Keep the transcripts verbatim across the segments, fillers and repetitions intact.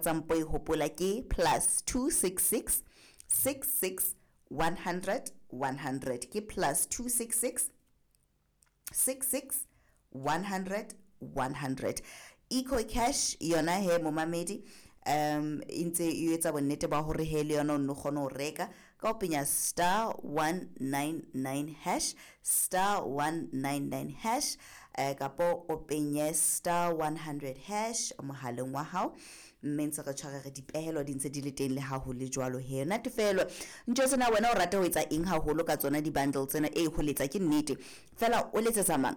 Tsa mpo e hopola ke plus two six six six six one hundred one hundred, ke plus two six six six six one hundred one hundred. EcoCash yona he momamedi, um e ntse e etsa bonnete ba hore he le yona o nno kgone ho reka ka ho penya star one nine nine hash, star one nine nine hash, eh, kapo o penye star one hundred hash mohaleng wa hao, mme ntse re tshware re dipehelo di ntse di le teng le ha ho le jwalo he. Natefelo ntho tsena wena o rata ho etsa eng haholo ka tsona di-bundle tsena? E ho letsa ke nnete fela, o letsetsa mang?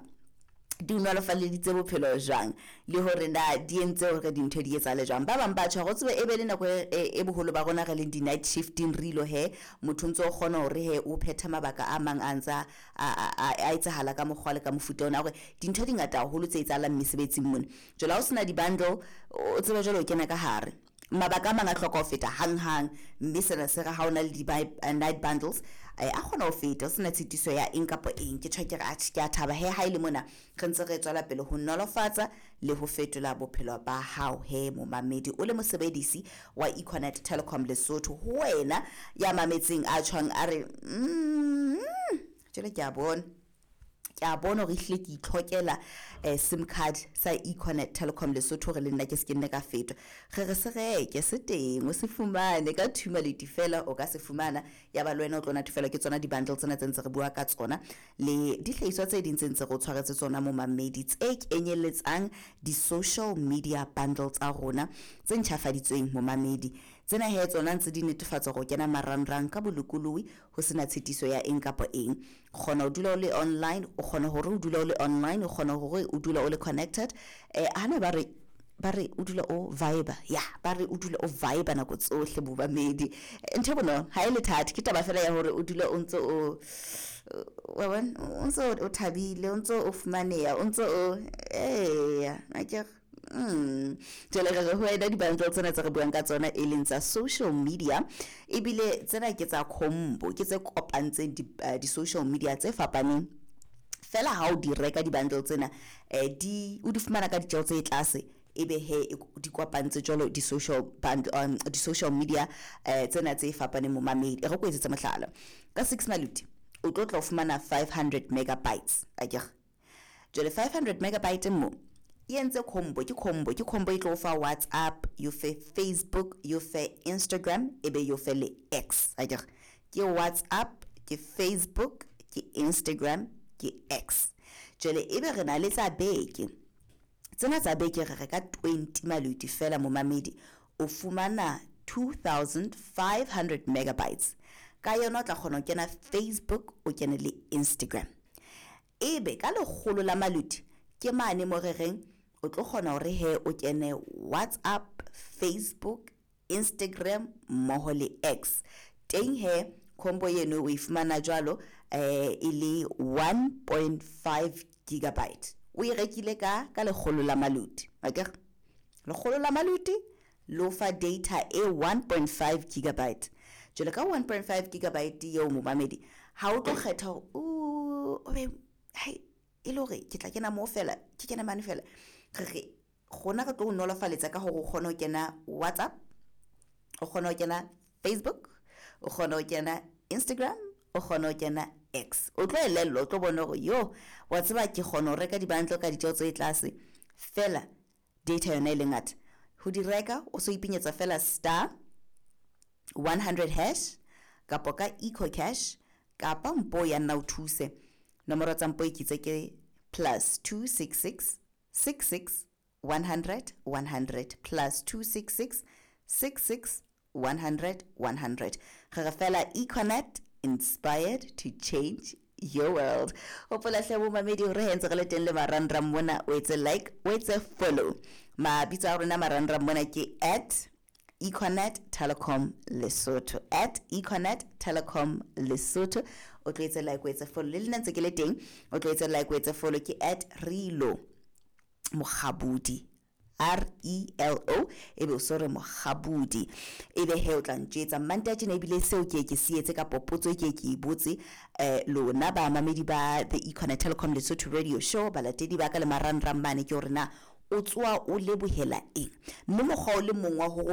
Di nolofaleditse bophelo jwang, le hore na di entse hore dintho di etsahale jwang? Ba bang ba tjho hore o tsebe e be le nako e, e boholo ba rona re leng di-night shifting, re ilo he motho ntso o kgona hore he o phethe mabaka a mang a ntsa a a etsahala ka mokgwa le ka mofuta ona, hore dintho di ngata haholo tse etsahalang mesebetsing mona. Jwale ha o sena di-bundle, o tsebe jwale o kena ka hare, mabaka a mang a hloka ho feta hanghang, mme sena se re ha o na le di-night bundles a kgona ho feta o sena tshitiso ya eng kapa eng. Ke tjho ke re atjhe, ke a thaba he ha e le mona re ntse re tswela pele ho nolofatsa le ho fetola bophelo ba hao he momamedi, o le mosebedisi wa Econet Telecom Lesotho. Ho wena ya mametseng a tjhwang a re mm jwale ke a bona, ke a bona hore ehlile ke itlhokela eh, sim card sa Econet Telecom Lesotho hore le nna ke se ke nne ka fetwa. Re re se reke, se teng, o se fumane ka thuma leti fela, o ka se fumana ya ba le wena o tlo natefelwa ke tsona di-bundle tsena tse ntse re bua ka tsona le dihlahiswa tse ding tse ntse re o tshwaretse tsona momamedi, tse kenyelletsang di-social media bundle tsa rona tse ntjhafaditsweng momamedi. Tsena he tsona ntse di netefatsa hore o kena marangrang ka bolokolohi ho sena tshitiso ya eng kapa eng. Kgona ho dula o le online, o kgona hore o dula o le online, o kgona hore o dula o le connected. Eh hana ba re ba re o dula o vibe, ya ba re o dula o vibe nako tsohle momamedi. Ntho e bonolo ha e le thata, ke taba fela ya hore o dula o ntso o wa bona, o ntso o thabile, o ntso o fumaneha, o ntso o eya akere. Mm jwale re re ho wena di-bundle tsena tse re buang ka tsona e leng tsa social media, ebile tsena ke tsa combo, ke tse kopantseng di-social media tse fapaneng fela. Ha o di reka di-bundle tsena, eh di o di fumana ka ditjeho tse tlase, ebe he di kopantse jwalo di-social bundle, um, di-social media eh tsena tse fapaneng momamedi. E re ko etsetse mohlala, ka six maluti o tlo tla o fumana five hundred megabytes akere. Jwale five hundred megabyte mo e entse combo, ke combo, ke combo e tlo fa WhatsApp, yo fe Facebook, yo fe Instagram, ebe yo fe le X akere. Ke WhatsApp, ke Facebook, ke Instagram, ke X. Jwale ebe re na le tsa beke, tsena tsa beke re reka twenty maluti fela momamedi, o fumana two thousand five hundred megabytes ka yona, o tla kgona ho kena Facebook, o kene le Instagram. Ebe ka lekgolo la maluti ke mane mo re reng o tlo kgona hore he o kene WhatsApp, Facebook, Instagram mmoho le X. Teng he combo eno o e fumana jwalo eh e le one point five gigabyte. O e rekile ka ka lekgolo la maluti akere, lekgolo la maluti lo fa data e one point five gigabyte. Jwale ka one point five gigabyte eo momamedi, ha o tlo kgetha hore o be hai e le hore ke tla kena moo fela, ke kene mane fela, re re rona re tlo o nolofaletsa ka hore o kgone ho kena WhatsApp, o kgone ho kena Facebook, o kgone ho kena Instagram, o kgone ho kena X. O tlo elellwa, o tlo bona hore yo wa tseba ke kgona ho reka di-bundle ka ditjeho tse tlase fela, data yona e le ngata. Ho di reka o so ipenyetsa fela star one hundred hash kapa ka EcoCash kapa mpo ya nna o thuse. Nomoro tsa mpo e kitse ke plus two six six six six one hundred one hundred, plus two six six six six one hundred one hundred. Re re fela Econet, inspired to change your world. Hopola hle bomamedi hore he ntse re le teng le marangrang mona, o etse like, o etse follow. Mabitso a rona marangrang mona ke at Econet Telecom Lesotho, at Econet Telecom Lesotho. O tlo etse like, o etse follow. Le nna ntse ke le teng, o tlo etse like, o etse follow ke at Relo Mokgabudi, R E L O, ebe o so re Mokgabudi, ebe he o tla ntjwetsa Mmantaha tjena. Ebile seo ke ke se etse kapa potso e ke ke e botse eh lona ba mamedi ba the Econet Telecom Lesotho radio show, balatedi ba ka le marangrang mane, ke hore na O tsoha o lebohela eng? Mme mokgwa o le mong wa hore o